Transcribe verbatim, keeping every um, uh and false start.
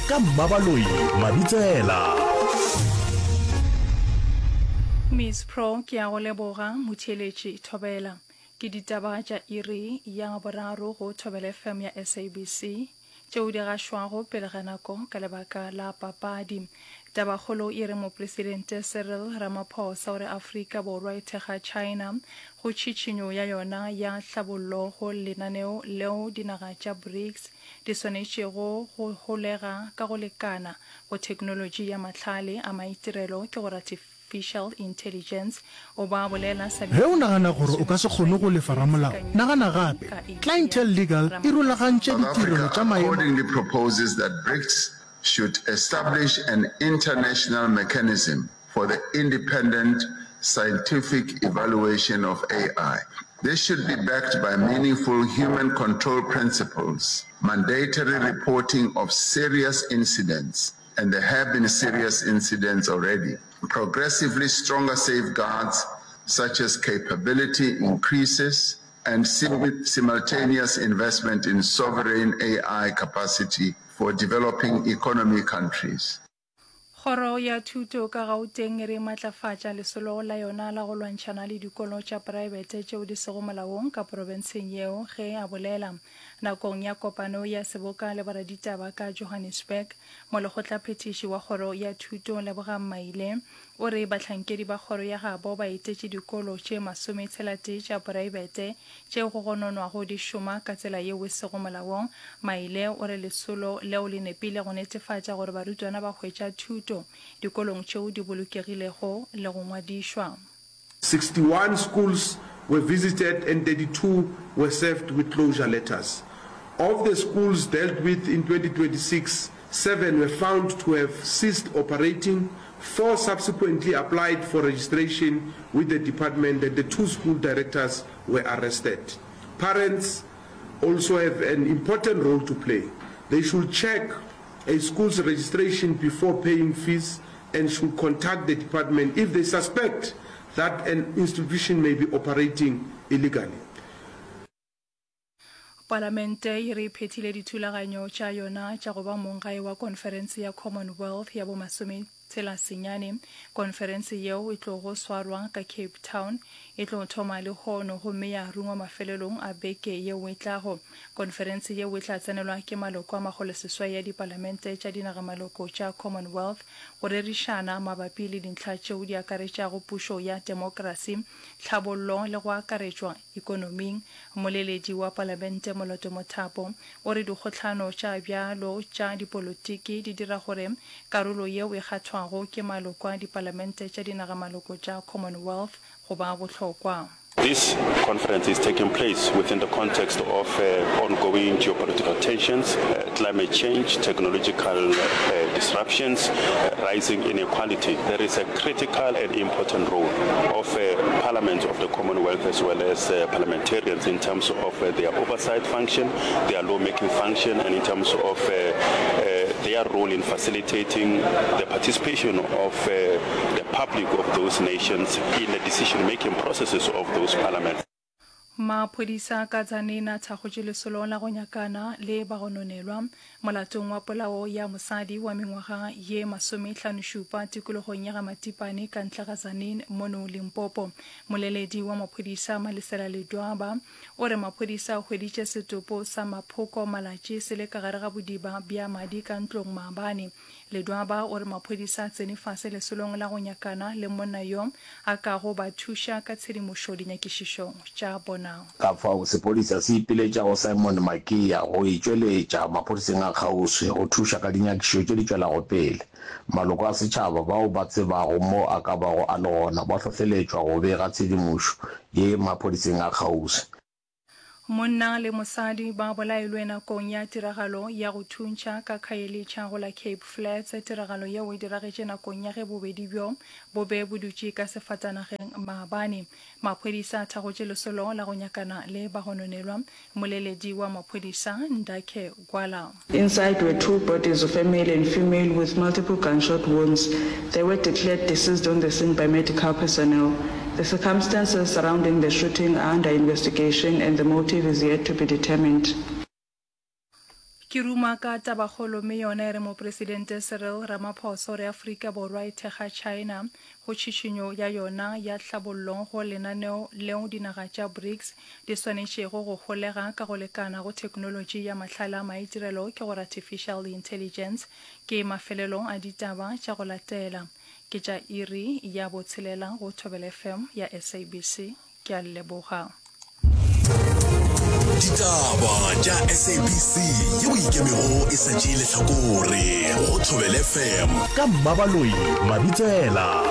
Ka Mmabaloi Mabitsela. Miss Pro ke a go leboga motheeletši Thobela. Ke ditaba tša iri ya boraro go Thobela F M ya S A B C tšeo di gašwago pele ga nako ka lebaka la papadi. Tabakgolo e re Mopresidente Cyril Ramaphosa o re Afrika Borwa e thekga China go tšhitšhinyo ya yona ya hlabollo go lenaneo leo dinaga tša BRICS di swanetšego go holega ka go lekana go theknolotši ya mahlale a maitirelo, ke gore artificial intelligence. O ba bolela Ge o nagana gore o ka se kgone go lefa ramolao, nagana gape. Clientele Legal e rulagantše South ditirelo Africa tša maemo. Accordingly proposes that BRICS should establish an international mechanism for the independent scientific evaluation of A I. This should be backed by meaningful human control principles, mandatory reporting of serious incidents, and there have been serious incidents already, progressively stronger safeguards such as capability increases, and simultaneous investment in sovereign A I capacity for developing economy countries. Kgoro ya Thuto ka Gauteng e re e matlafatša lesolo la yona la go lwantšhana le dikolo tša praebete tšeo di sego molaong ka porofenseng yeo. Ge a bolela nakong ya kopano ya seboka le boraditaba ka Johannesburg, molekgotlaphethiši wa Kgoro ya Thuto Lebogang Maile o re bahlankedi ba kgoro ya gabo ba etetše dikolo tše masometshela-tee tša poraebete tšeo go gononwago di šoma ka tsela yeo e sego molaong. Maile o re lesolo leo le nepile go netefatša gore barutwana ba hwetša thuto dikolong tšeo di bolokegilego le go ngwadišwa. sixty-one schools were visited and thirty-two were served with closure letters. Of the schools dealt with in twenty twenty-six, seven were found to have ceased operating, four subsequently applied for registration with the department and the two school directors were arrested. Parents also have an important role to play. They should check a school's registration before paying fees and should contact the department if they suspect that an institution may be operating illegally. Palamente e re e phethile dithulaganyo tša yona tša go ba monggae wa konferense ya Commonwealth ya bomasometshela senyane. Konferense yeo e tlogo swarwa ka Cape Town e tlo thoma lehono gomme ya rungwa mafelelong a beke yeo e tlago. Konferense yeo e tla tsenelwa ke maloko a makgoloseswai a dipalamente tša dinagamaloko tša Commonwealth go rerišana mabapi le dintlha tšeo di akaretšago pušo ya temokrasi, tlhabollo le go akaretšwa ikonoming. Mmoleledi wa Palamente Moloto Mothapo o re dikgohlano tša bjalo tša dipolotiki di dira gore karolo yeo e kgathwago ke maloko a dipalamente tša dinagamaloko tša Commonwealth go ba bohlokwa. This conference is taking place within the context of uh, ongoing geopolitical tensions, uh, climate change, technological uh, disruptions, uh, rising inequality. There is a critical and important role of uh, Parliament of the Commonwealth as well as uh, parliamentarians in terms of uh, their oversight function, their lawmaking function, and in terms of uh, uh, their role in facilitating the participation of uh, the public of those nations in the decision-making processes of those parliaments. Maphodisa ka Tzaneen a thakgotše lesolo la go nyakana le bagononelwa molatong wa polao ya mosadi wa mengwaga ye masomehlanošupa tikologong ya Gamatipane ka ntle ga Tzaneen mono Limpopo. Moleledi wa maphodisa Malesela Ledwaba o re maphodisa a hweditše setopo sa Maphoko Malatši se le ka gare ga bodiba bja madi ka ntlong maabane. Ledwaba o re maphodisa a tsene fase lesolong la go nyakana le monna yo a kago ba thuša ka tshedimošo dinyakišišong tša bona. Ka fao, sephodisa se ipiletša go Simon Makia go itšweletša maphodiseng a kgauswi go thuša ka dinyakišišo tše di tšwelago pele. Maloko a setšhaba bao ba tsebago mo a ka bago a le gona ba hlohleletšwa go bega tshedimošo ye maphodiseng a kgauswi. Monna le mosadi ba bolailwe nakong ya tiragalo ya go thuntšha ka Khayelitsha go la Cape Flats. Tiragalo yeo e diragetše nakong ya ge bobedi bjo bo be bo dutše ka sefatanageng maabane. Maphodisa a thakgotše lesolo la go nyakana le bagononelwa. Mmoleledi wa maphodisa Ndakhe Gwala. Inside were two bodies of a male and female with multiple gunshot wounds. They were declared deceased on the scene by medical personnel. The circumstances surrounding the shooting are under investigation and the motive is yet to be determined. Ke ruma ka tabakgolo mme yona e re Mopresidente Cyril Ramaphosa o re Afrika Borwa e thekga China go tšhišinyo ya yona ya hlabollo go lenaneo leo dinaga tša BRICS di swanetšego go holega ka go lekana go theknolotši ya mahlale a maitirelo ke gore Artificial Intelligence. Ke mafelelo a ditaba tša go latela. Ke tša iri ya botshelela go Thobela F M ya S A B C. Ke a le leboga. Ditaba tša S A B C yeo e ikemego e sa tšee lehlakore go Thobela F M ka Mmabaloi Mabitsela.